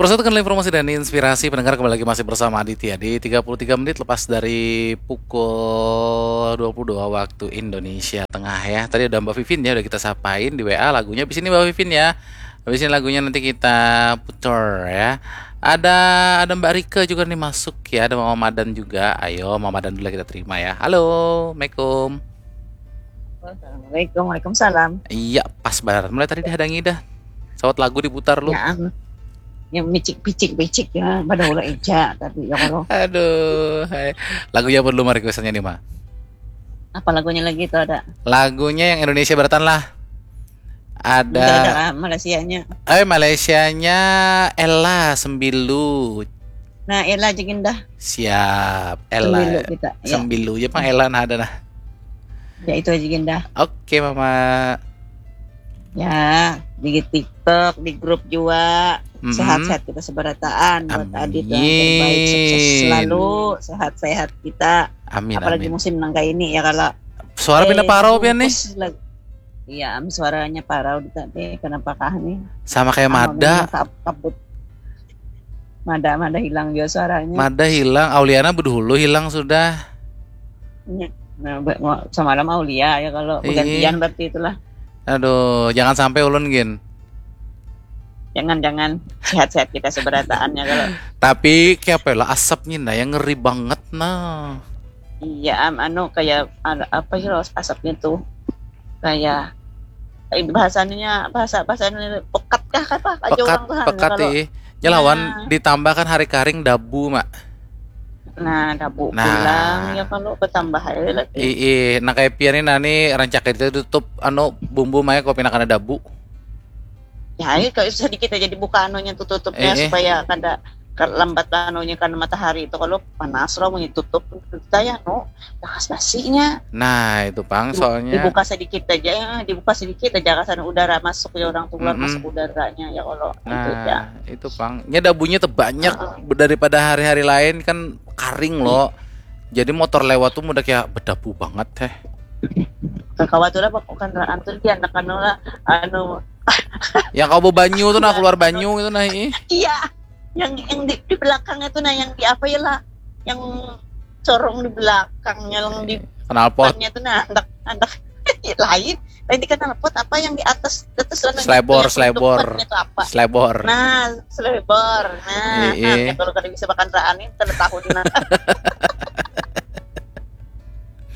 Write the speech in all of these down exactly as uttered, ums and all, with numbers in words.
Persatukan informasi dan inspirasi pendengar, kembali lagi masih bersama Aditya di tiga puluh tiga menit lepas dari pukul dua puluh dua waktu Indonesia Tengah ya. Tadi ada Mbak Vivin ya, udah kita sapain di W A lagunya. Habis ini Mbak Vivin ya. Habis ini lagunya nanti kita putar ya. Ada ada Mbak Rika juga nih masuk ya, ada Mama Madan juga. Ayo Mama Madan dulu kita terima ya. Halo, Assalamualaikum. Assalamualaikum, Waalaikumsalam. Iya, pas banget. Mulai tadi dihadangi dah. Sawat lagu diputar lu. Ya, yang micik-picik-picik ya, pada ulah eja tapi ya kalau. Aduh, hai. Lagunya apa dulu mah requestannya nih, Ma? Apa lagunya lagi itu ada? Lagunya yang Indonesia Baratan lah. Ada. Ada Malaysianya. Eh, Malaysianya Ella Sembilu. Nah, Ella aja gindah. Siap, Ella. Sembilu kita. Ya. Sembilu aja, Pak Ella nah ada nah. Ya itu aja gindah. Oke, Mama. Ya, di TikTok, di grup juga. Mm-hmm. Sehat-sehat kita seberataan buat Adit yang terbaik, sukses selalu, sehat-sehat kita. Amin. Apalagi amin. Musim nang kayak ini ya kalau. Suara eh, pindah parau pian nih. Iya, am suaranya parau di tadi. Kenapa kah nih? Sama kayak Mada. Kabut. Mada Mada hilang juga suaranya. Mada hilang, Auliana bedulu hilang sudah. Iya. Nah, semalam Aulia ya kalau bergantian berarti itulah. Aduh, jangan sampai ulun gin. Jangan-jangan sehat-sehat kita seberataannya kalau. Tapi kayak apa lah asapnya nah yang ngeri banget nah. Iya, am, anu kayak anu, apa sih asapnya tuh? Kayak eh, bahasanya bahasa bahasanya pekat kah apa aja pekat, orang tuh pekat kalau, iya. Nyelawan nah. Ditambahkan hari karing dabu mak. Nah dabu nah. Pulang ya kalau bertambah aja lagi. Ih, nah kayak pian ini nani rancak itu tutup anu bumbu maya kopi nak ada dabu. Ya ayo kalau sedikit aja dibuka anunya tuh tutupnya eh, supaya kada lambat anunya karena matahari itu kalau panas loh mau tutup kita ya no bekas nasinya. Nah itu pang soalnya dibuka sedikit aja ya, dibuka sedikit aja karena udara masuk ya orang tuh keluar mm -hmm. Masuk udaranya ya kalau nah, itu ya. Itu pang nya dabunya tuh banyak uh -uh. Daripada hari-hari lain kan karing loh jadi motor lewat tuh udah kayak bedabu banget teh. Kawat udah bukan antur dia anak anu lah anu yang kau banyu tuh nah keluar banyu itu nah ih. Iya. Yang yang di, di belakang itu nah yang di apa ya lah yang corong di belakangnya yang di knalpotnya tuh nah anak anak lain lain di knalpot apa yang di atas atas selebor selebor selebor nah selebor nah, nah kalau kada bisa makan raan ini kada tahu nah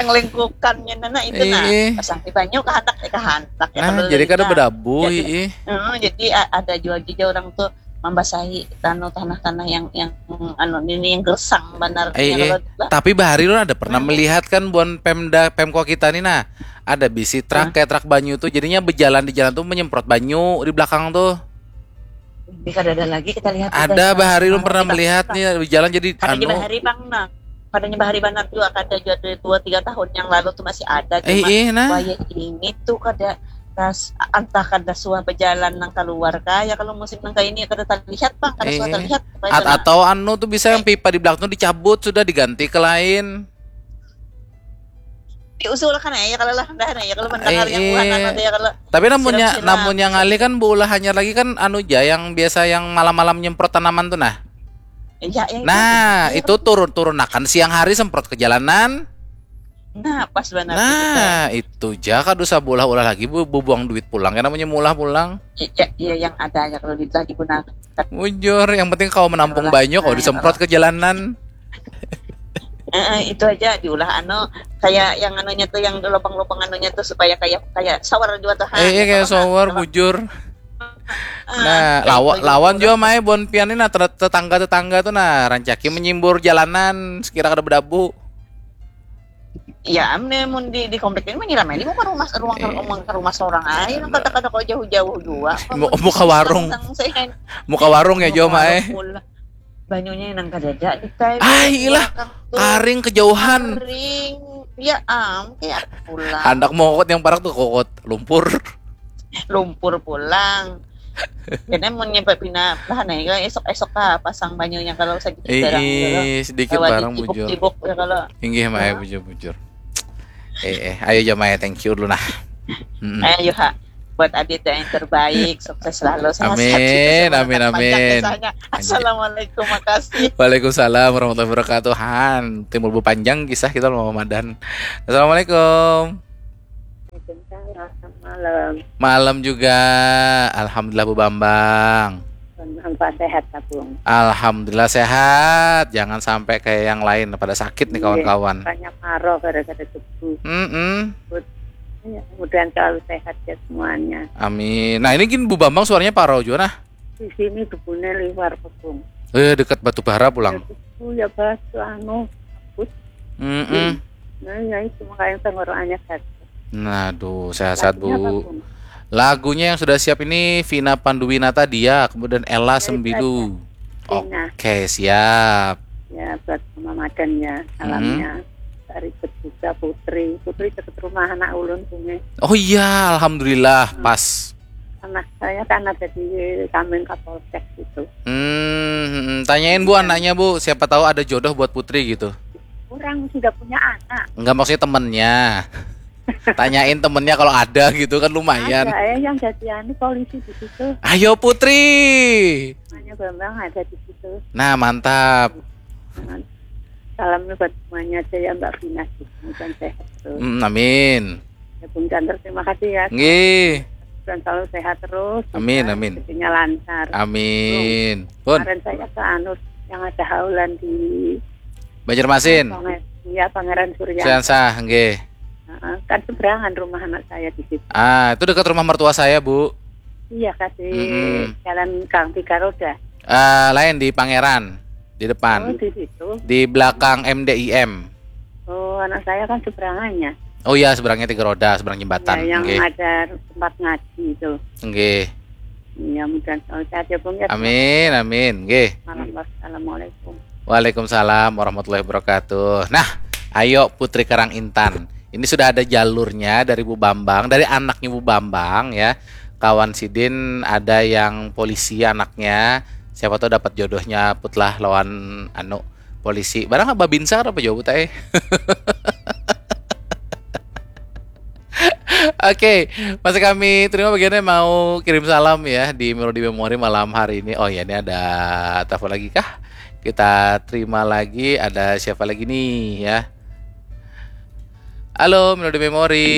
yang lingkukannya nah itu nah pasang di banyu kehandak ya kehandak ya nah, jadi kada berdabu jadi, uh, jadi ada jual juga orang tuh membasahi tanu tanah-tanah yang yang anu ini yang gersang benar. Eh, eh. Tapi bahari lu ada pernah hmm. Melihat kan buan Pemda Pemko kita nih nah ada bisi truk hmm. Kayak truk banyu tuh jadinya berjalan di jalan tuh menyemprot banyu di belakang tuh. Bisa ada lagi kita lihat. Ada bahari lu pernah melihat nih berjalan jadi anu. Bahari bang nah. Padanya bahari banar juga kada jua dari dua tiga tahun yang lalu tuh masih ada cuma eh, eh, nah. Kaya ini tuh kada tas antah kada suah berjalan nang keluar kaya kalau musim nang kayak ini kada terlihat bang kada eh, suah terlihat at atau anu tuh bisa yang pipa di belakang tuh dicabut sudah diganti ke lain diusulkan ya kalau lah dah ya kalau mendengar eh, yang bukan anu ya kalau tapi namunnya namunnya ngalih kan beulah hanyar lagi kan anu ja yang biasa yang malam-malam nyemprot tanaman tuh nah Iya, iya, nah, iya, itu turun-turunakan siang hari semprot ke jalanan. Nah, pas benar. Nah, itu ja kada usah bolah ulah lagi bu, buang duit pulang karena punya mulah pulang. Iya, iya yang ada aja kalau duit lagi guna. Bujur, yang penting kau menampung banyak kau disemprot ke jalanan. Eh, itu aja diulah anu kayak yang anunya tuh yang lubang-lubang anunya tuh supaya kayak kayak shower juga tuh. Eh, iya, kayak shower bujur. Nah, lawan lawan juga mai bon pian ini nah tetangga-tetangga tuh nah rancaki menyimbur jalanan sekira kada berdabu. Ya, amne mun di di komplek ini menyiram ini muka rumah ruang iya. Rumah ke rumah seorang aja nang kata kata kau jauh-jauh juga. Muka warung. Muka warung ya Jo mai. Banyunya nang kadada di kai. Ah, ilah. Karing kejauhan. Karing. Ya am, kayak pulang. Handak mau kokot yang parak tuh kokot lumpur. Lumpur pulang. Kena mau nyampe pina bahan ya esok esok kah pasang banyunya kalau sedikit barang gitu. Sedikit barang bujur. Tibuk ya kalau. Inggih mae bujur bujur. Eh eh ayo jo mae thank you dulu nah. Ayo ha. Buat Adit yang terbaik, sukses selalu, sehat-sehat. Amin, Sukses, amin, berkat panjang amin. Kisahnya. Assalamualaikum, makasih. Waalaikumsalam warahmatullahi wabarakatuh. Han, timbul bepanjang kisah kita, Mama Madan. Assalamualaikum. Waalaikumsalam, malam. Malam juga. Alhamdulillah, Bu Bambang. Apa sehat, Bung? Alhamdulillah sehat. Jangan sampai kayak yang lain pada sakit nih, Iya, kawan-kawan. Banyak paro gara-gara debu. Mm-mm. Ya, mudah-mudahan selalu sehat ya semuanya. Amin. Nah, ini gini, Bu Bambang, suaranya parau juga nah. Di sini debunnya liwar, Bung. Eh, dekat Batu Bara pulang. Debu ya, batu anu, kabut. Mm-mm. Nah, ya itu makanya tenggorokannya gatal. Nah, aduh, sehat-sehat, Lagunya apa, Bu. Bung? Lagunya yang sudah siap ini Vina Panduwinata, Dia, kemudian Ella Baik, Sembilu. Vina. Oke, siap. Ya, buat Mama Madan ya, salamnya. Dari juga Putri. Putri deket rumah anak ulun, Bung. Oh iya, alhamdulillah, pas. Anak saya kan ada di samping Kapolsek gitu. Hmm, hmm, tanyain, Bu, anaknya, Bu, siapa tahu ada jodoh buat Putri gitu. Orang sudah punya anak. Enggak, maksudnya temennya. Tanyain temennya kalau ada gitu kan, lumayan. Ada ya yang jadi anu, polisi di situ. Ayo, Putri. Namanya Bambang ada di situ. Nah, mantap. Nah, salamnya buat semuanya aja ya, Mbak Vina, gitu. Mudah-mudahan sehat terus. Hmm, amin. Ya, Bung Chandra, terima kasih ya. Nggih. Dan selalu sehat terus. Amin, Ya, amin. Rezekinya lancar. Amin. Pun, Kemarin saya ke anu, yang ada haulan di Banjarmasin. Panger-, ya, Pangeran Surya. Siansah, nggih. Heeh, kan seberangan rumah anak saya di situ. Ah, itu dekat rumah mertua saya, Bu. Iya, kasih Mm-mm. jalan Gang Tiga Roda. Ah, lain, di Pangeran, di Oh, depan. Di situ. Di belakang M D I M. Oh, anak saya kan seberangannya. Oh iya, seberangnya Tiga Roda, seberang jembatan. Ya, yang Nggih. Ada tempat ngaji itu. Nggih. Iya, mudah-mudahan selalu sehat ya, Bung, ya. Amin, amin. Nggih. Malam, wassalamualaikum. Waalaikumsalam warahmatullahi wabarakatuh. Nah, ayo, Putri Karang Intan. Ini sudah ada jalurnya dari Bu Bambang, dari anaknya Bu Bambang ya. Kawan sidin ada yang polisi anaknya. Siapa tahu dapat jodohnya, Put, lah, lawan anu, polisi. Barang apa, Binsar apa jawab teh? Oke, masih kami terima bagiannya mau kirim salam ya di Melody Memory malam hari ini. Oh ya, ini ada telepon lagi kah? Kita terima lagi, ada siapa lagi nih ya? Halo, Melody Memory.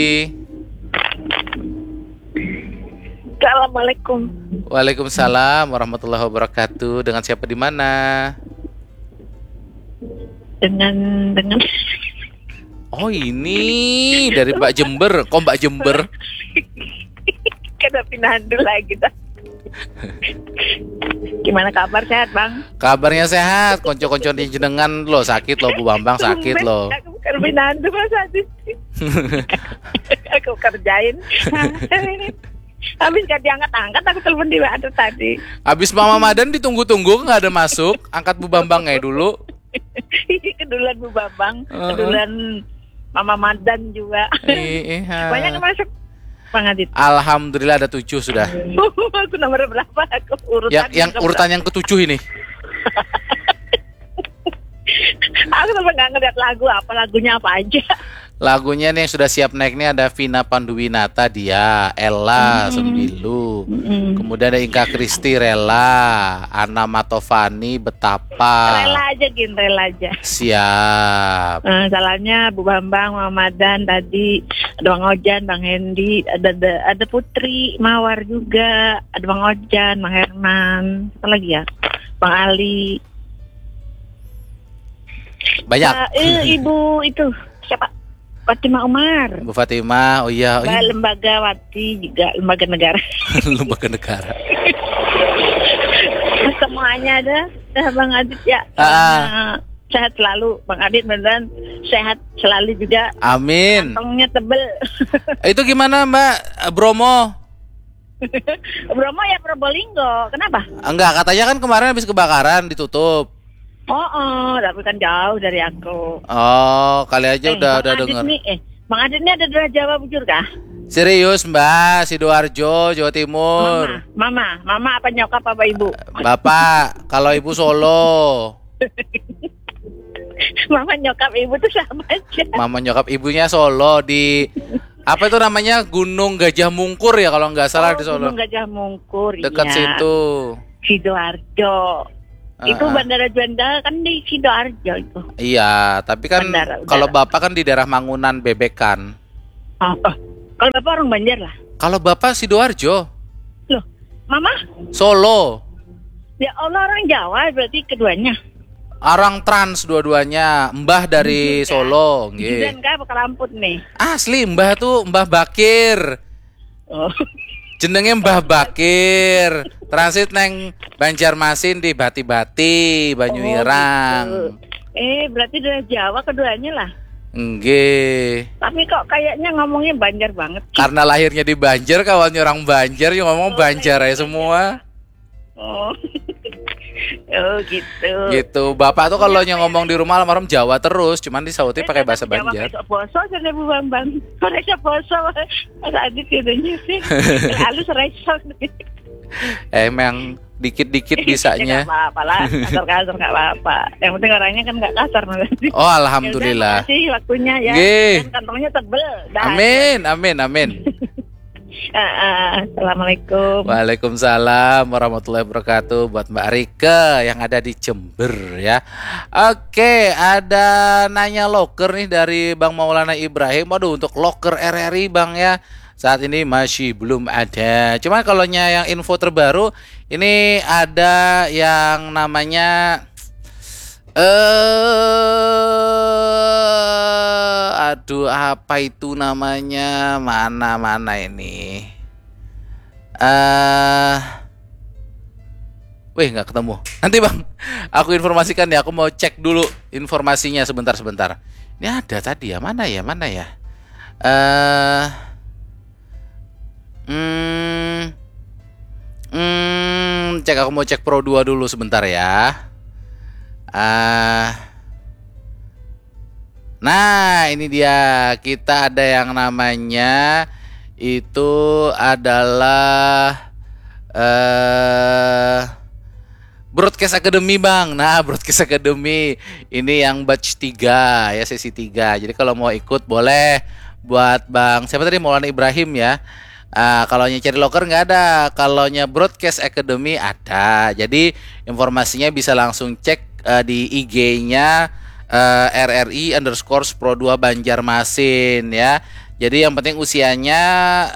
Assalamualaikum. Waalaikumsalam warahmatullahi wabarakatuh. Dengan siapa, di mana? Dengan dengan Oh, ini dari Mbak Jember. Kok Mbak Jember? Kada pinandu lagi dah. Gimana kabar, sehat, Bang? Kabarnya sehat. Konco-konco di jenengan lo sakit lo, Bu Bambang sakit lo. Aku kada pinandu, Mas Adi. Aku kerjain. Habis gak diangkat-angkat aku telepon di W A tadi. Habis Mama Madan ditunggu-tunggu nggak ada masuk, angkat Bu Bambang aja dulu. Keduluan Bu Bambang, Heeh. Keduluan Mama Madan juga. Ih, ih, ha. Banyak yang masuk, Bang Adit. Alhamdulillah ada tujuh sudah. Aku nomor berapa? Aku urutan Yang yang keberapa? Urutan yang ketujuh ini. Aku sampai nggak ngeliat lagu apa, lagunya apa aja. Lagunya nih yang sudah siap naik nih ada Vina Panduwinata, Dia, Ella Sembilu. Mm-mm. Kemudian ada Inka Kristi, Rela, Ana Matovani, Betapa. Rela aja, Gin, rela aja. Siap. Eh, salamnya Bu Bambang, Mama Madan tadi, ada Bang Ojan, Bang Hendy, ada, ada ada Putri Mawar juga, ada Bang Ojan, Bang Herman, apa lagi ya, Bang Ali. Banyak. Eh, eh, Ibu itu siapa? Fatimah Umar. Bu Fatimah, oh iya, oh Mbak iya. Lembaga Wati juga, lembaga negara. Lembaga negara. Semuanya ada, dah, Bang Adit ya. Ah. Eh, sehat selalu, Bang Adit, mudah-mudahan sehat selalu juga. Amin. Kantongnya tebel. Itu gimana, Mbak, eh, Bromo? Bromo ya, Probolinggo. Kenapa? Enggak, katanya kan kemarin habis kebakaran ditutup. Oh, oh, tapi kan jauh dari aku. Oh, kali aja Eh, udah Bang udah Adit dengar. Nih, eh, Bang Adit nih ada dua Jawa, bujur kah? Serius, Mbak, Sidoarjo, Jawa Timur. Mama, mama, mama apa nyokap apa ibu? Bapak, kalau ibu Solo. Mama nyokap ibu tuh sama aja. Mama nyokap ibunya Solo di Apa itu namanya, Gunung Gajah Mungkur ya kalau nggak salah oh, di Solo. Gunung Gajah Mungkur. Dekat ya. Situ. Sidoarjo. Uh-uh. Itu Bandara Juanda kan di Sidoarjo itu. Iya, tapi kan kalau bapak kan di daerah Mangunan Bebekan. Oh, oh. Kalau bapak orang Banjar lah. Kalau bapak Sidoarjo. Loh, mama? Solo. Ya Allah, orang Jawa berarti keduanya. Orang Trans dua-duanya, mbah dari Solo, nggih. Jidan kah apa kalamput nih? Asli, mbah tuh Mbah Bakir. Oh. Jenenge Mbah Bakir. Transit neng Banjarmasin di Bati-Bati, Banyuirang. Oh, gitu. Eh, berarti dari Jawa keduanya lah. Nggih. Tapi kok kayaknya ngomongnya Banjar banget. Karena lahirnya di Banjar, kawannya orang Banjar, yang ngomong oh, Banjar ya semua. Oh. Oh gitu. Gitu. Bapak tuh kalau yang ngomong di rumah almarhum Jawa terus, cuman disauti pakai bahasa Banjar. Sok poso sana Bu Bambang. Sore sok poso. Mas Adit gitu sih. Halus resok. Emang dikit-dikit bisanya. Enggak apa-apa lah, kasar-kasar enggak apa-apa. Yang penting orangnya kan enggak kasar nanti. Oh, alhamdulillah. Terima kasih waktunya ya. Nggih. Dan kantongnya tebel. Dah. Amin, amin, amin. Uh, uh, Assalamualaikum. Waalaikumsalam warahmatullahi wabarakatuh buat Mbak Rike yang ada di Jember ya. Oke, ada nanya loker nih dari Bang Maulana Ibrahim. Waduh, untuk loker R R I Bang ya. Saat ini masih belum ada. Cuma kalau yang info terbaru ini ada yang namanya eh aduh apa itu namanya? Mana mana ini? Eh uh, Wih, nggak ketemu. Nanti Bang, aku informasikan ya, aku mau cek dulu informasinya sebentar-sebentar. Ini ada tadi ya, mana ya, mana ya? Eh uh, Hmm, hmm, cek aku mau cek Pro dua dulu sebentar ya. Ah. Uh, nah, ini dia. Kita ada yang namanya itu adalah eh uh, Broadcast Academy Bang. Nah, Broadcast Academy ini yang batch tiga ya, sesi tiga. Jadi kalau mau ikut boleh buat Bang siapa tadi, Maulana Ibrahim ya. Uh, kalau nya cari loker nggak ada, kalau nya Broadcast Academy ada. Jadi informasinya bisa langsung cek uh, di I G-nya uh, eh, R R I underscore Pro dua Banjarmasin ya. Jadi yang penting usianya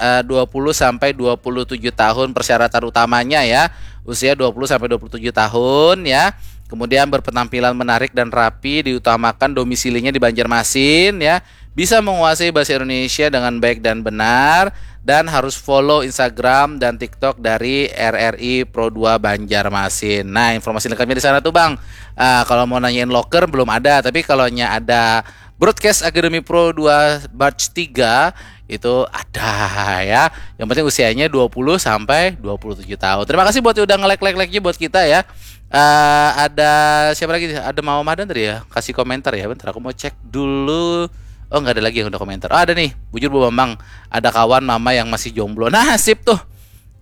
uh, dua puluh sampai dua puluh tujuh tahun, persyaratan utamanya ya. Usia dua puluh sampai dua puluh tujuh tahun ya. Kemudian berpenampilan menarik dan rapi, diutamakan domisilinya di Banjarmasin ya. Bisa menguasai bahasa Indonesia dengan baik dan benar dan harus follow Instagram dan TikTok dari R R I Pro dua Banjarmasin. Nah, informasi lengkapnya di sana tuh Bang. Uh, kalau mau nanyain loker belum ada, tapi kalau nya ada Broadcast Academy Pro dua batch tiga itu ada ya. Yang penting usianya dua puluh sampai dua puluh tujuh tahun. Terima kasih buat yang udah nge-like-like-like-nya buat kita ya. Uh, ada siapa lagi? Ada Mama Madan tadi ya. Kasih komentar ya. Bentar aku mau cek dulu. Oh, nggak ada lagi yang udah komentar. Oh, ada nih. Bujur Bu Bambang. Ada kawan mama yang masih jomblo. Nah, sip tuh.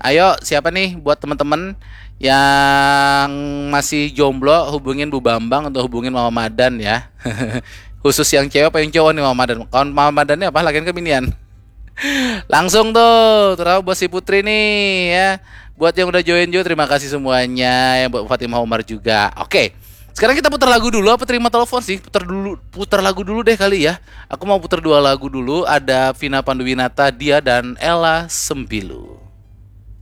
Ayo, siapa nih buat teman-teman yang masih jomblo, hubungin Bu Bambang atau hubungin Mama Madan ya. Khusus yang cewek apa yang cowok nih Mama Madan? Kawan Mama Madan nih apa? Lagian kebinian. Langsung tuh, terus buat si Putri nih ya. Buat yang udah join juga terima kasih semuanya, yang buat Fatimah Umar juga. Oke. Sekarang kita putar lagu dulu apa terima telepon sih? Putar dulu, putar lagu dulu deh kali ya. Aku mau putar dua lagu dulu, ada Vina Panduwinata, Dia dan Ella Sembilu.